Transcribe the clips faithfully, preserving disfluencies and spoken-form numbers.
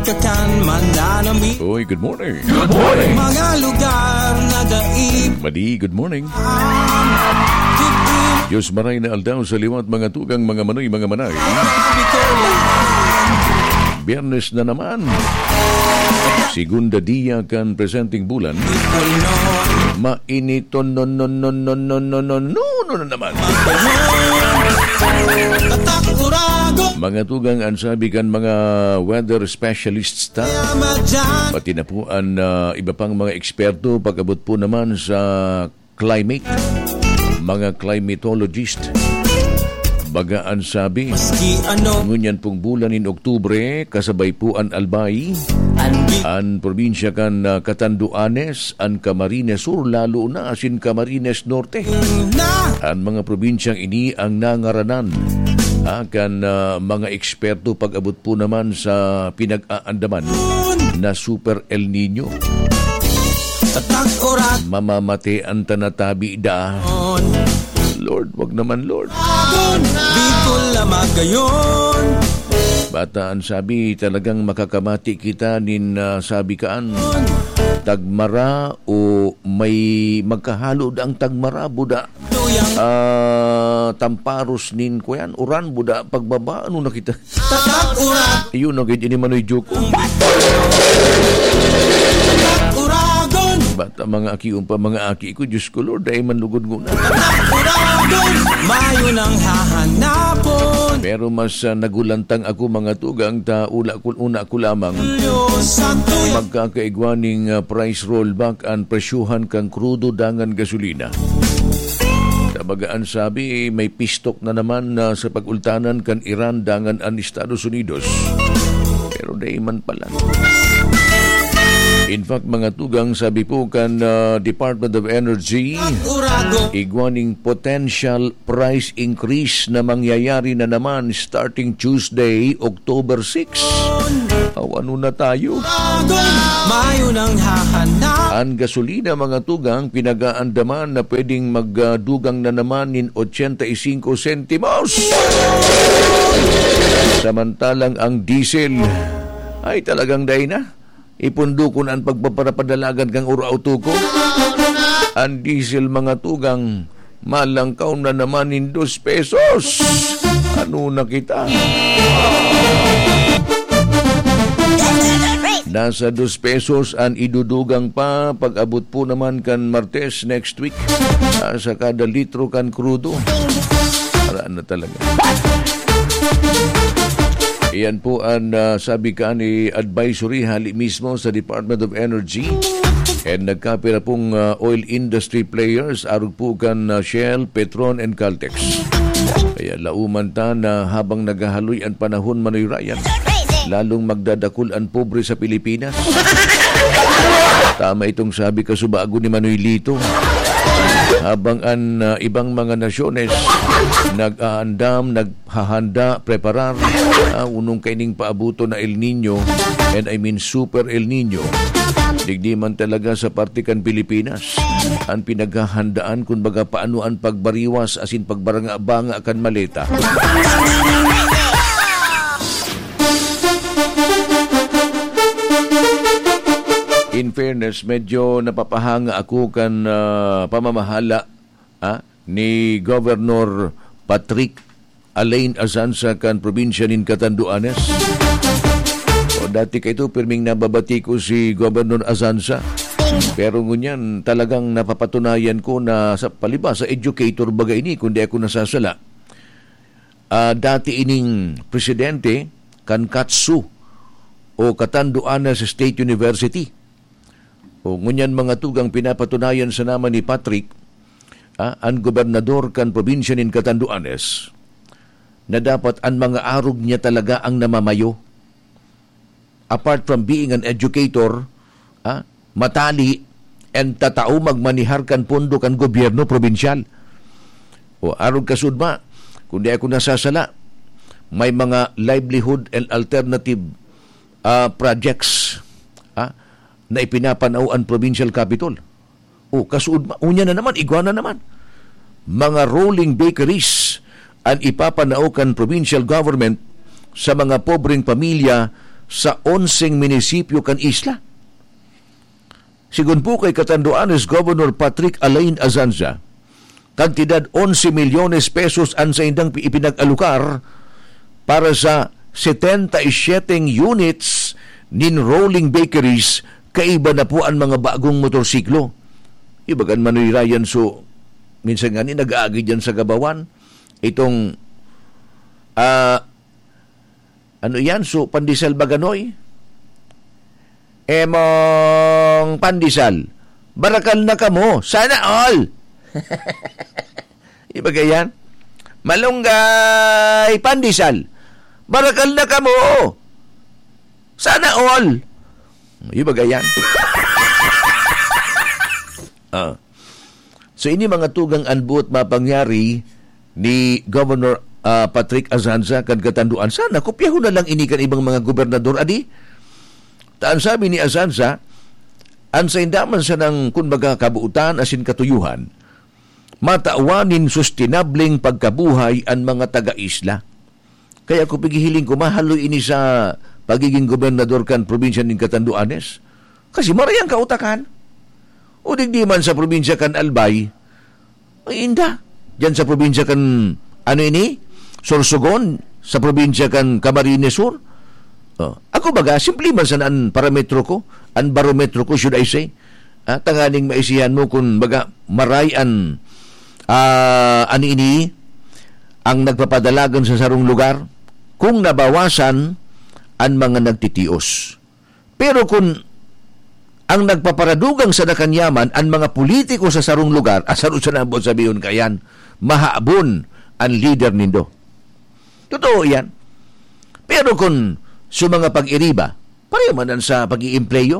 Kakan mananami. Oy, good morning. Good morning. Mga lugar na daig. Madi, good morning. Diyos maray na aldaw sa liwat, mga tugang, mga manoy, mga manay. Biyernes na naman. Segunda dia kan presenteng bulan. Mainiton non non non non non non non non non na naman. Mga tugang, an sabi kan mga weather specialists ta, pati na po an, ah, iba pang mga eksperto pag-abot po naman sa climate, mga climatologist. Baga an sabi, ngunyan pong bulan nin Oktubre, kasabay po an Albay, an probinsya kan, ah, Catanduanes, an Camarines Sur, lalo na asin Camarines Norte. An mga probinsyang ini ang nangaranan, ah, kan, ah, mga eksperto pag-abot po naman sa pinag-aandaman na Super El Nino. Mamamatay an tanatabi da. Lord, wag naman, Lord. Bicol na magayon. Bata an sabi, talagang makakamati kita nin, ah, sabi kaan, tagmara o may magkahalo da ang tagmara, buda. Ah, tamparos nin kuyan, uran, buda, pagbaba, ano na kita? Tatak urat. Ayun, na gid ini manoy joke. Uragon. Bata, mga aki, umpa, mga aki ko, Diyos ko, Lord, ay manlugod nguna. Uragon. Mayo nang hahanapon. Pero mas, ah, nagulantang ako, mga tugang, ta ula ko, una ko lamang. Magkakaigwa ning, ah, price rollback an presyohan kan krudo dangan gasolina. Tabaga an sabi, may pistok na naman na sa pag-ultanan kan Iran dangan an Estados Unidos. Pero dai man pala. In fact, mga tugang, sabi po kan, ah, Department of Energy, igwa ning potential price increase na mangyayari na naman starting Tuesday, October six. Aw, ano na tayo? Mayo nang hahanap. An gasolina, mga tugang, pinag-aandaman na pwedeng magdugang na naman nin ochenta y cinco sentimos. Samantalang ang diesel ay talagang dai na. Ipundo ko na an pagpaparapadalagan kan oro auto ko. An diesel, mga tugang, malangkaw na naman nin dos pesos. Ano na kita? Nasa dos pesos an idudugang pa pag-abot po naman kan Martes next week, ah, sa kada litro kan krudo. Para na talaga. Iyan po an, ah, sabi kan ni advisory hali mismo sa Department of Energy and nagkapira pong, ah, oil industry players, arog po kan, ah, Shell, Petron and Caltex. Kaya lauman ta na habang naghahaloy an panahon, Manoy Ryan, lalong magdadakul an pobre sa Pilipinas. Tama itong sabi kasubago ni Manoy Lito. Habang an, ah, ibang mga nasyones nag-aandam, nag- hahanda, preparar, ah, unong kaining paabuton na El Nino, and I mean Super El Nino. Digdi man talaga sa parte kan Pilipinas, an pinaghahandaan, kun baga, paano an pagbariwas asin pagbaranga-banga kan maleta. In fairness, medyo napapahanga ako kan, ah, pamamahala, ah, ni Governor Patrick Alain Azanza kan probinsya nin Catanduanes. O, dati kaito, pirming nababati ko si Governor Azanza. Pero ngunyan, talagang napapatunayan ko na sa palibasa, educator baga ini, kun di ako nasasala. Ah, dati ining presidente kan katsu o Catanduanes State University. O, ngunyan, mga tugang, pinapatunayan sana man ni Patrick, ah, an gobernador kan probinsya nin Catanduanes, na dapat an mga arog niya talaga ang namamayo. Apart from being an educator, ah, matali and tatao magmanihar kan pondo kan gobyerno probinsyal. O, arog kasudma, kun di ako nasasala, may mga livelihood and alternative, ah, projects, ah, na ipinapanao an provincial capital. O, kasuod ma-, unya na naman, igwa na naman. Mga rolling bakeries an ipapanao kan provincial government sa mga pobreng pamilya sa onseng munisipyo kan isla. Sigon po kay Catanduanes Governor Patrick Alain Azanza, kantidad onse milyones pesos an saindang pi-, ipinag-alokar para sa setenta y siyete units nin rolling bakeries, kaiba na po an mga bagong motorsiklo. Ibagan Manoy Ryan, so, minsan nga ni nag-aagi dyan sa Gabawan. Itong, ah, ano yan? So, pandesal ba, Ganoy? Emong pandesal. Barakal na kamo. Sana all! Ibaga yan. Malunggay, pandesal. Barakal na kamo. Sana all. Ibaga yan. Ah. So, ini mga tugang an buot mapangyari ni Governor, ah, Patrick Azanza kan Catanduanes. Sana, kopyahon na lang ini kan ibang mga gobernador, adi? Ta an sabi ni Azanza, an sainda man sanang, kun baga, kabuotan asin katuyohan, matawan nin sustenableng pagkabuhay an mga taga-isla. Kaya ko pighihiling ko, mahaloy ini sa pagiging gobernador kan probinsya nin Catanduanes. Kasi maray an kautakan. O digdi man sa probinsya kan Albay, ay inda. Diyan sa probinsya kan, ano ini? Sorsogon, sa probinsya kan Camarines Sur. Oh, ako baga, simple man sana an parametro ko, an barometro ko, should I say. Ah, tanganing maisihan mo kun baga maray an, ah, ano ini, ang nagpapadalagan sa sarong lugar, kung nabawasan an mga nagtitios. Pero kun ang nagpaparadugang sana kan yaman an mga politiko sa sarong lugar, asaro sana an buot sabihon kayan, mahabon an lider nindo. Totoo iyan. Pero kun sa mga pag-iriba, pareho man an sa pag-iimpleyo.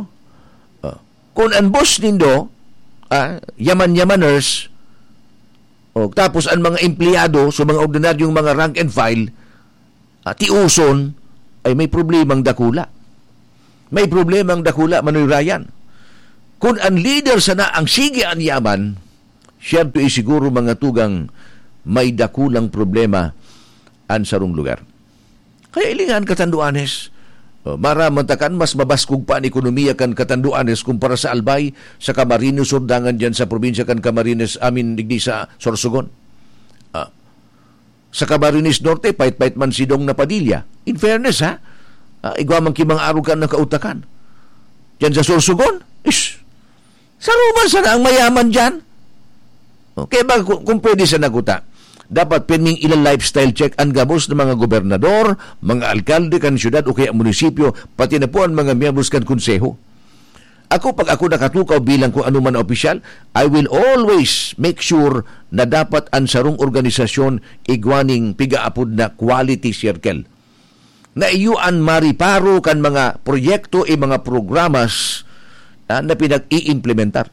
Oh. Kun an boss nindo, ah, yaman-yamaners, oh, tapos an mga empleyado sa mga ordinaryong mga rank and file, ah, tiuson, ay may problemang dakula. May problemang dakula, Manoy Ryan. Kun an lider sana ang sige an yaman, siyempre, eh, siguro, mga tugang, may dakulang problema an sarong lugar. Kaya hilinga an Catanduanes, oh, maaraman ta kan mas mabaskog pa an ekonomiya kan Catanduanes kumpara sa Albay, sa Camarines Sur, dangan diyan sa probinsya kan Camarines, amin digdi sa Sorsogon. Ah, sa Camarines Norte, pait-pait man si Dong na Padilla. In fairness, ha? Ah, igwa man ki mga arog kan nakautakan. Diyan sa Sorsogon, is, saro man sana ang mayaman diyan. Okay ba, kung, kung pwede sana kuta, dapat pirming ila-lifestyle check an gabos na mga gobernador, mga alkalde kan syudad o kaya munisipyo, pati na po an mga miyembros kan konseho. Ako, pag ako nakatukaw bilang kung ano man na opisyal, I will always make sure na dapat an sarong organisasyon igwa ning pigaapod na quality circle, na iyo an mariparo kan mga proyekto, i mga programas, ah, na pinag-iimplementar.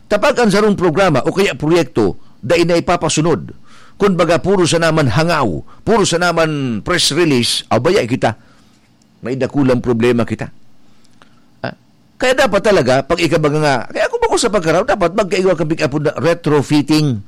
Kapag an sarong programa o kaya proyekto dai na ipapasunod, kun baga puro sana man hangaw, puro sana man press release, abaya kita, may dakulang problema kita. Ah, kaya dapat talaga, pag ikabaga nga, kaya kung bako sa pagkaraw, dapat magkaigwa kang pick-up na retrofitting,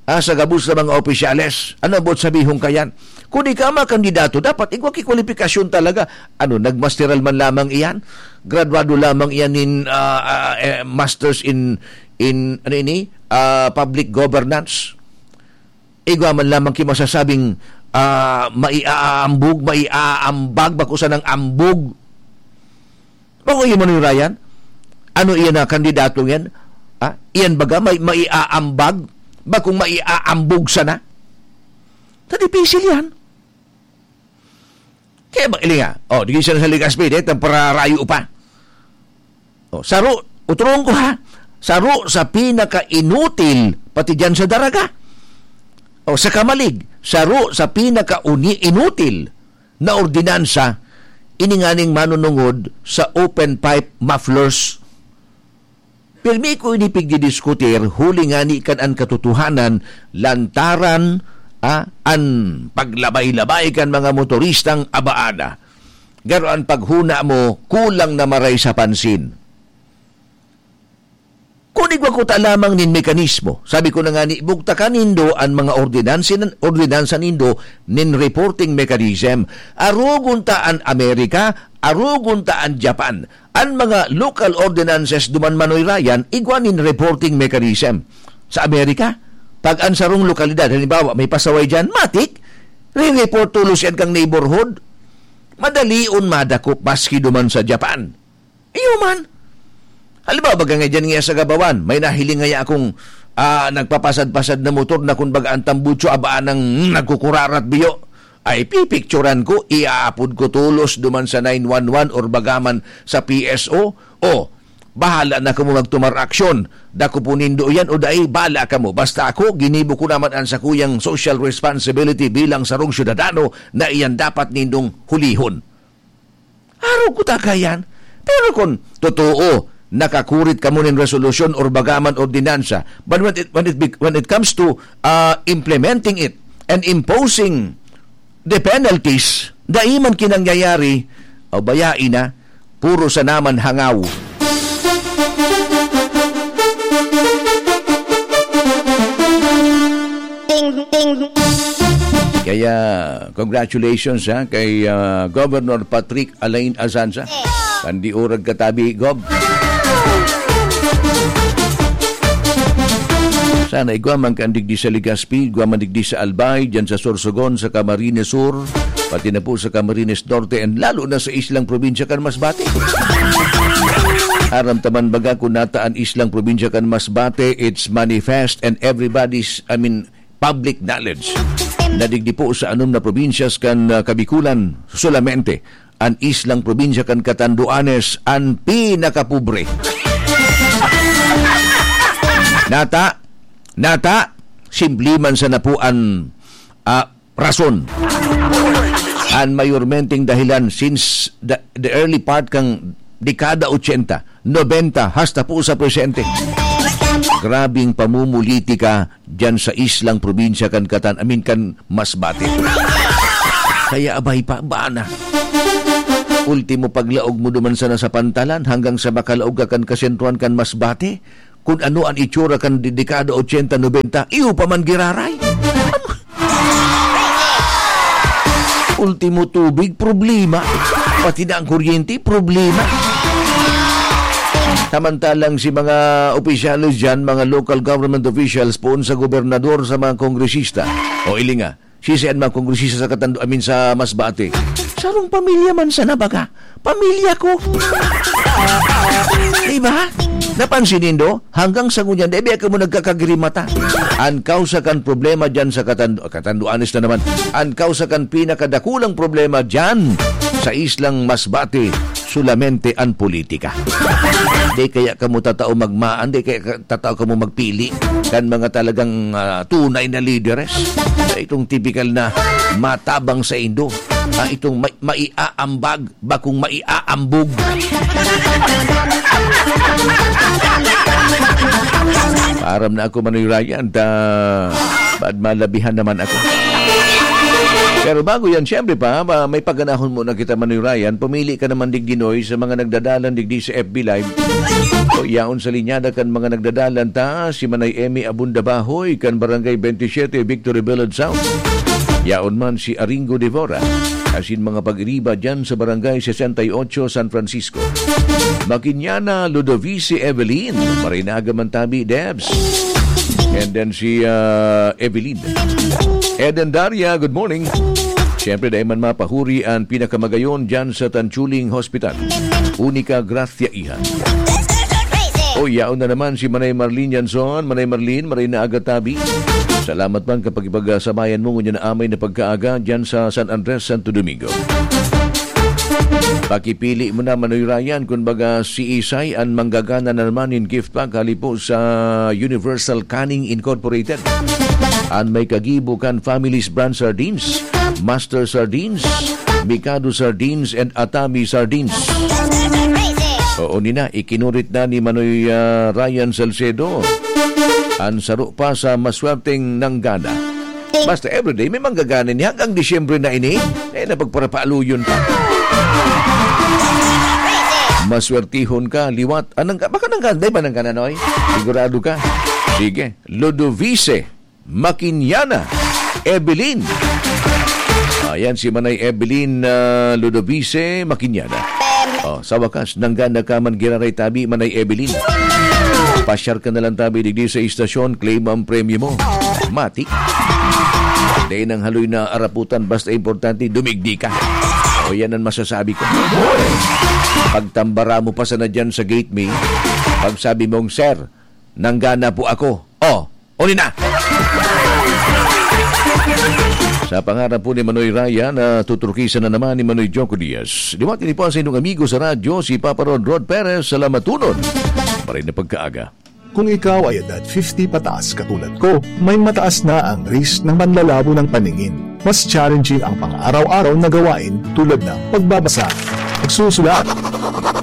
ah, sa gabos na mga opisyales. Ano ang buot sabihon kayan? Kung di ka makandidato, dapat igwa ki kwalifikasyon talaga. Ano, nagmasteral man lamang iyan? Graduado lamang iyan in, ah, ah, eh, masters in, in, ano ini? Ah, public governance. Igwa man lamang ki masasabing, ah, maiaambog, maiaambag, bako sanang ambog. Bako iyo, Manoy Ryan? Ano iyan na kandidato yan? Ha? Iyan baga may maiaambag? Bakong maiaambog sana? Sa dipisil yan. Kaya ba, ilinga? Oh, di siya sa Legazpi, dahil pararayo pa. Oh, saro, uturong ko ha, saro sa pinaka-inutil, pati dyan sa Daraga. Oh, sa Camalig, saro sa pinaka-uni-, inutil na ordinansa, ini nganing manunungod sa open pipe mufflers. Pirmi ko ini pigdidiskutir, huli ngani kan an katotohanan, lantaran, ah, an paglabay-labay kan mga motoristang abaada. Garo an paghuna mo, kulang na maray sa pansin. Kun igwa kuta lamang nin mekanismo, sabi ko na ngani, bugtakan nindo an mga ordinansi-, ordinansa nindo nin reporting mechanism. Arogon ta an Amerika, arogon ta an Japan. An mga local ordinances duman, Manoy Ryan, igwa nin reporting mechanism. Sa Amerika, pag an sarong lokalidad, halimbawa, may pasaway diyan, matik, re-report tolos yan kang neighborhood. Madalion madakop maski duman sa Japan. Iyo man. Halimbawa, baga nga dyan nga sa Gabawan, may nahiling ngaya akong, ah, nagpapasad-pasad na motor na kun baga an tambutso, abaan nang nagkukurarat biyo. Ay, pipicturan ko, iaapod ko tolos duman sa nine one one or bagaman sa P S O. O, bahala na kamo magtumar aksyon. Dakopon nindo yan o dai, bahala kamo. Basta ako, ginibo ko naman an sakuyang social responsibility bilang sarong syudadano na iyan dapat nindong hulihon. Arog ko ta kaiyan. Pero kun totoo, nakakurit kamo nin resolusyon or bagaman ordinansa, but when it, when it, bec- when it comes to, ah, implementing it and imposing the penalties, dai man kinangyayari, o bayai na, puro sa naman hangaw. Ting, ting. Kaya, congratulations, ha, kay, ah, Governor Patrick Alain Azanza. Kan di urag katabi, Gob. Sana igwa man kan digdi sa Legazpi, igwa man digdi sa Albay, dyan sa Sorsogon, sa Camarines Sur, pati na po sa Camarines Norte, and lalo na sa islang probinsya kan Masbate. Aram ta man baga kun nata an islang probinsya kan Masbate, it's manifest and everybody's, I mean, public knowledge na digdi po sa anom na probinsyas kan, ah, Kabikulan solamente, an islang probinsya kan Catanduanes an pinakapobre. Nata, nata, simple man sana po an, ah, rason. An mayormenteng dahilan since the, the early part kan dekada ochenta, nobenta, hasta po sa presente. Grabing pamumulitika diyan sa islang probinsya kan Catan-, I mean, kan Masbate. Kaya abay pa, bana. Ultimo paglaog mo duman sana sa pantalan hanggang sa makalaog ka kan kasentruhan kan Masbate. Kun ano an itsura kan de-, dekada ochenta, nobenta, iyo pa man giraray. Ultimo tubig, problema. Pati na ang kuryente, problema. Samantalang si mga opisyales diyan, mga local government officials, poon sa gobernador, sa mga kongresista, o ilinga, sisian mga kongresista sa Katando-, I mean, sa Masbate. Sarong pamilya man sana baga. Pamilya ko. Diba? Napansin nindo? Hanggang sa ngunyan, dai biya kamo nagkakagrimata. An kausa kan problema dyan sa Katando-, Catanduanes na naman. An kausa kan pinakadakulang problema dyan sa islang Masbate, solamente an politika. Di kaya kamo tatao magmaan, di kaya ka-, tatao kamo magpili kan mga talagang, ah, tunay na lideres. Itong tipikal na matabang sa indo, ah, itong may, maiaambag, bakong maiaambog. Paaram na ako, Manoy Ryan, ta bad malabihan naman ako. Pero bago yan, siyempre pa, ma-, may paganahon muna kita, Manoy Ryan. Pumili ka naman digdi, Noy, sa mga nagdadalan digdi sa F B Live. O, yaon sa linyada kan mga nagdadalan ta, si Manay Emmy Abunda Bahoy, kan Barangay twenty-seven, Victory Village South. Yaon man si Aringo Devora, asin mga pag-iriba dyan sa Barangay sesenta y ocho, San Francisco. Makinyana, Ludovice Evelyn, marinaga man tabi, Debs. And then si, ah, Evelyn. Eden Daria, good morning. Siyempre, dahil man mapahuri ang pinakamagayon dyan sa Tanchuling Hospital. Unica Gracia Iha. O, yaon na naman si Manay Marlene Yanson. Manay Marlene, maray na aga tabi. Salamat man kapag ipagsabayan mo ngunyan na amay na pagkaaga dyan sa San Andres, Santo Domingo. Pakipili mo na, Manoy Ryan, kun baga si Isay an manggagana na naman nin gift pack hali po sa Universal Canning Incorporated. An may kagibo kan Family's Brand Sardines, Master Sardines, Mikado Sardines, and Atami Sardines. Oo, nina, ikinurit na ni Manoy, ah, Ryan Salcedo an saro pa sa maswerteng nanggana. Basta everyday, may manggagana ini. Hanggang Disyembre na ini, eh, napagparapaaluyon pa. Maswertihon ka, liwat. Anong ka? Baka nang ka? Di ba nang ka, Noy? Sigurado ka? Sige. Ludovice Makinyana. Evelyn. Ayan si Manay Evelyn, ah, Ludovice Makinyana. Oh, sa wakas, nanggana ka man giraray tabi, Manay Evelyn. Pasyar ka na lang tabi digdi sa istasyon, claim ang premyo mo. Mati. Dahil nang haloy na araputan, basta importante, dumigdi ka. O yan ang masasabi ko. Pagtambara mo pa sana dyan sa gate, May, pagsabi mong, "Sir, nanggana po ako." Oh, uli na! Sa pangarap po ni Manoy Raya na tuturkisan na naman ni Manoy Joko Diaz. Liwat ini po sa inyong amigo sa radyo, si Papa Rod Rod Perez. Salamat tunon. Maray na pagkaaga. Kung ikaw ay edad fifty pataas katulad ko, may mataas na ang risk ng panlalabo ng paningin. Mas challenging ang pang-araw-araw na gawain tulad ng pagbabasa, pagsusulat,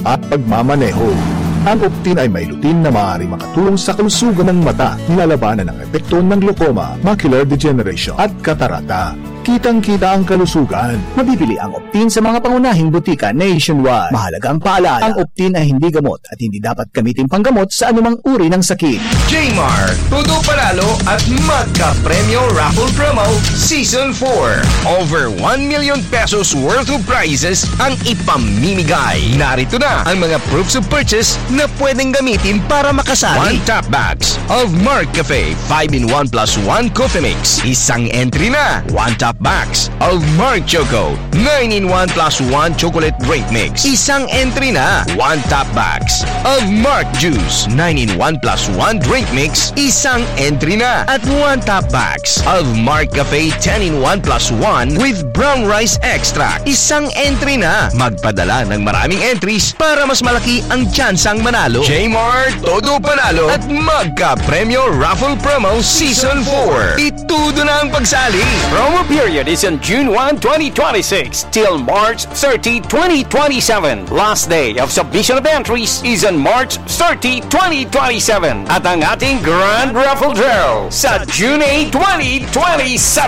at pagmamaneho. Ang Optin ay may lutein na maaaring makatulong sa kalusugan ng mata, nilalabanan ang epekto ng glaucoma, macular degeneration, at katarata. Kitang-kita ang kalusugan. Mabibili ang Optin sa mga pangunahing butika nationwide. Mahalagang paalala, ang Optin ay hindi gamot at hindi dapat gamitin panggamot sa anumang uri ng sakit. Jmar, Todo Panalo at Magka Premyo Raffle Promo Season four. Over one million pesos worth of prizes ang ipamimigay. Narito na ang mga proofs of purchase na pwedeng gamitin para makasali. One top box of Mark Cafe five-in-one plus one Coffee Mix. Isang entry na. One top box of Mark Choco nine-in-one plus one Chocolate Drink Mix. Isang entry na. One top box of Mark Juice nine-in-one plus one Drink Mix. Isang entry na. At one top box of Mark Cafe ten-in-one plus one with Brown Rice Extract. Isang entry na. Magpadala ng maraming entries para mas malaki ang tsansang manalo. Jmar, Todo Panalo at Magka Premyo Raffle Promo Season four. Itudo na ang pagsali. Promo period is on June one, twenty twenty-six till March thirty, twenty twenty-seven. Last day of submission of entries is on March thirty, twenty twenty-seven. At ang ating Grand Raffle Draw sa June eight, twenty twenty-seven.